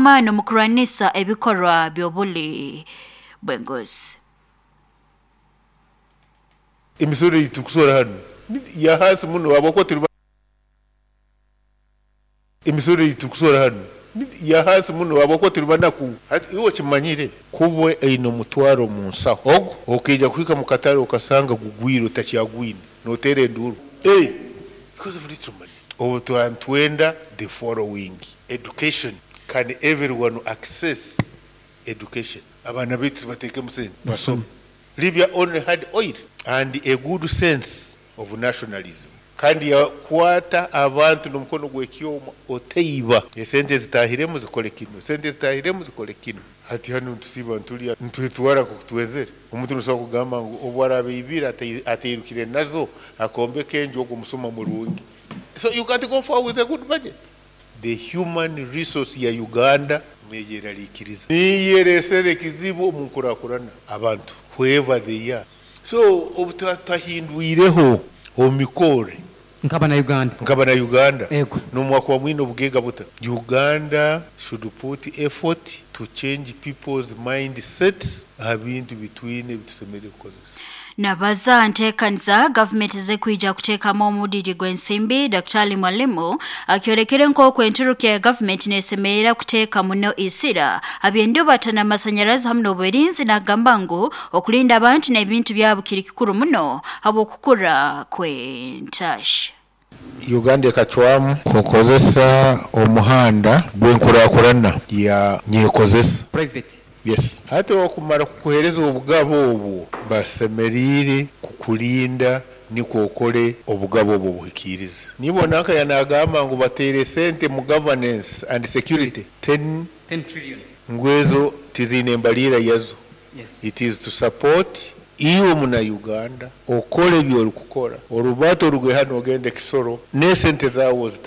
Gw'amaani omu kurwanisa ebikorwa by'obuli bw'enguzi. Emisoro ei turukusora hanu ya hansi muno habwokuba tuli Emisoro ei turukusora hanu ya hansi muno habwokuba tuli banaku. Hati iwe okimanyire kuba oine omutwaro omu nsaho ogu okaija kuhika mu katare okasanga gugwire otakyagwine nooteera enduuru because of little money. Obu tuba nitwenda the following: education, can everyone access education? Abaana baitu tubateekemu sente basome. Libya only had oil and a good sense of nationalism kandi yakwata abantu n'omukono gw'ekyoma, otaiba, esente zitaahiremu zikole kinu, esente zitaahiremu zikole kinu. Hati hanu nitusiiba nitulya nitwetwara nk'oku twezere. Omuntu nosobora kugamba ngu obu araaba aibire atairukire nazo akombeka enju, ogwo musuma murungi. So you can't go far with a good budget. The human resource ya Uganda neyeraliikiriza. Niyo ereesere ekizibu omu nkurakurana abantu whoever they are. So obu tutahindwireho omu mikorre Nk'abana-Uganda. Nk'abana-Uganda. Ego. N'obu mwine obugaiga buta, Uganda should put effort to change people's mindsets aha bintu bitwine ebitusemeriire kukozesa. Nabaza aha nteekaniza gavumenti z'ekwija kuteekamu omudidi gw'ensimbi, Daktari Mwalimu akyorekere nk'oku enturukya ya gavumenti nesemerera kuteeka muno isira ha by'endubata n'amasanyarazi hamu n'obwerinzi, nagamba ngu okulinda abantu n'ebintu byabo kiri kikuru muno habw'okukura kw'entasya. Uganda ekacwamu kukozesa omuhanda gw'enkurakurana ya nyekozesa. Private. Yes. Hati okumara kukuheereza obugabo obwo, basemeriire kukulinda nikwo okole obugabo obwo obuhikiirize. Nibona nka yanagamba ngu bateire sente mu governance and security 10 10 trillion. Ngu ezo tiziine embaliira yazo. It is to support iwe muna Uganda okole ebi orikukora, orubata oruge hanu ogende Kisoro n'esente zaawe.